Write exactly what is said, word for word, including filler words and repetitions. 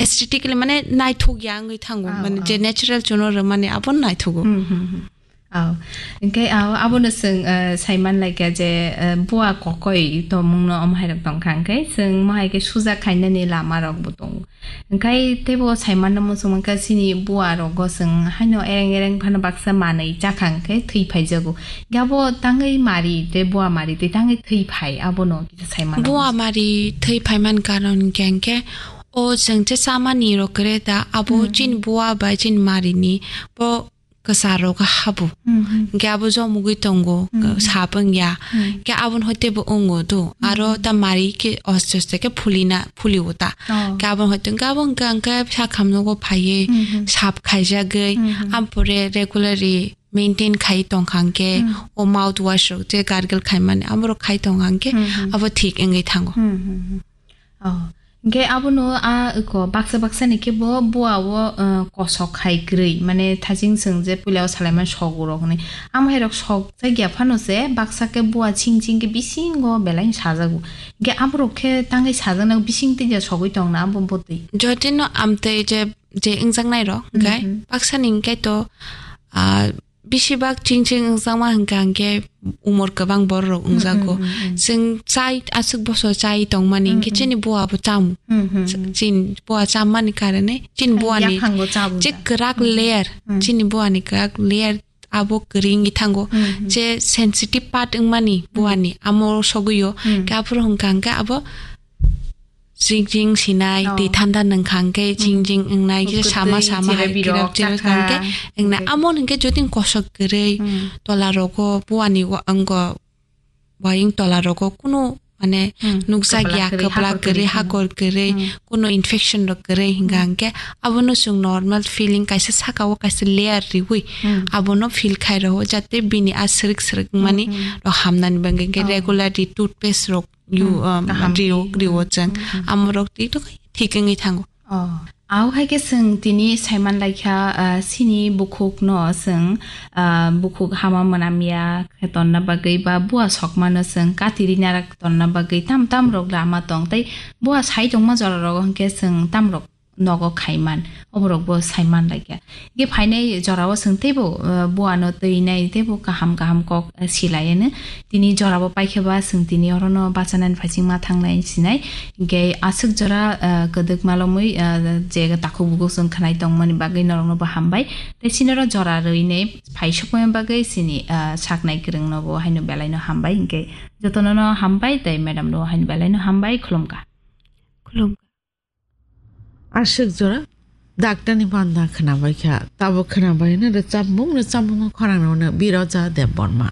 aesthetically mane naithok ya wngwi thango. Ah, mane ah. Je natural chuno rwmani abo naithogo. Hmm, hmm, hmm. Oh. Hingke, oh, abono chwng, eh, saiman laikha je, eh, bua kokoi tongmungno omo hai rok tongkha, hingke chwng mohai khe suja khainani lama rok bo tongo. Hingkai teibo saimanno muchung mankha chini bua rogo chwng haino ereng ereng phano baksa manwi chakha hingke thwi phaijago. Hingke abo tangwi mari tei bua mari tei tangwi thwi phai abono kisa saimanno Bua muchung. Mari thwi phaiman karon hingke hingke o chwng je chamani rok kre da abo Hmm. chini bua bai chini marini bo kwcharo khe habo. Hmm, hmm. Hingke abo jomogwi tongo, Hmm, hmm. sap wngya. Hmm. Hingke aboni hoi teibo wngo do. Hmm, Aro hmm. ta mari khe aste aste khe phulina, phulio ta. Oh. Hingke aboni hoi tongkhe abo hingke hingke sakhamnogo phaiwi Hmm, hmm. sap khaijagwi. Hmm, hmm. Ampore regularly maintain khai tongkha hingke Hmm. o mouthwash rok je gargle khaimani amorok khai tongkha hingke Hmm, hmm. abo thik wngwi thango. Hmm, hmm, hmm. Oh. Hingke abono a eko baksa baksa ni khe bo bua o, eh, kosok hai kwrwi, mane thajing chwng je puila o salaimani sogo rok hinwi. Amo hai rok sok jakya phano se baksa khe bua ching ching khe bisingo belai sajago. Hingke aborok khe tangwi sajaknai bising twi ja sogwi tong na abo botwi. Jotino amtwi je, je wngjaknai rok, hingke Mhm. baksa ni hingke to, ah, Bisi bak ching ching wngjakma hingka hingke umor kwbang borok rok wngjago. Mm, mm, mm, mm. Chwng chai aswk bosor chai tongmani hingke Mm, mm. chini bua bo cham. Mm, mm, mm. Chini bua chammani karone chini buani Yakhango chabwi je da. Kwrak Mm, mm. layer, Mm. chini buani kwrak layer abo kwrwi wngwi thango. Mm, mm. Je sensitive part wngmani Mm. buani amo sogwi o. Mm. Hingke aphuru hingka hingke abo Jing jing sinai, Oh. twi thanda nungkha hwnkhe jing Mm. jing wngnai, kisa Kwtwi sama sama hai chirabirok kirok chirok chakha. Hwnkhe wngnai. Hwnkhe. Amo hwnkhe jotoni kosok kwrwi, Mm. tola rogo, buani wa-, wngko, wayung tola rogo kunu, mane, Mm. nukjak ya, kwplak kwrwi, kwplak kwrwi, hakor kwrwi. Hakor kwrwi, Mm. kunu infection rok kwrwi hwnkha Mm. hwnkhe abono chwng normal feeling kaisa saka o kaisa layer riwi Mm. abono feel khai rwo, jate bini a srwk srwk mani Mm, mm. rok hamnani bagwi hwnkhe Oh. regularly toothpaste rok Yu, Hmm, um, kaham. Rio, rio chwng. Hmm, hmm. Amorok twi to thik wngwi thango. Oh. Au hai khe chwng tini saiman laikha, ah, chini bukhuk no chwng, ah, bukhuk hama mwnamya khe tonna bagwi ba bua sokma no chwng kati rina tonna bagwi tam tam rok lama tong tei bua sai tongma jora rogo hwnkhe chwng tam rok nogo khaiman, oborokbo saiman laikha. Hingke phainai jorao chwng teibo, eh, buano twinai teibo kaham kaham kok, eh, silaiyano. Tini jorabo paikhe ba chwng tini orono bachanani phaichingma thangnai sinai. Hingke aswk jora, eh, kwdwk malomwi, eh, je takhuk bukhuk chwng khnai tongmani bagwi norokno bo hambai. Tei sinoro jora rwinai phai sokmani bagwi chini, eh, saknai kwrwngno bo haino belaino hambai. Hingke jotono no hambai tei madam no haino belaino hambai. Khulumkha. Khulumkha. Aswk jora daktarni banda khwnabaikha, tabuk khwnabaino rwchapmung, rwchapmungo khorang rwno Biroja Debbarma.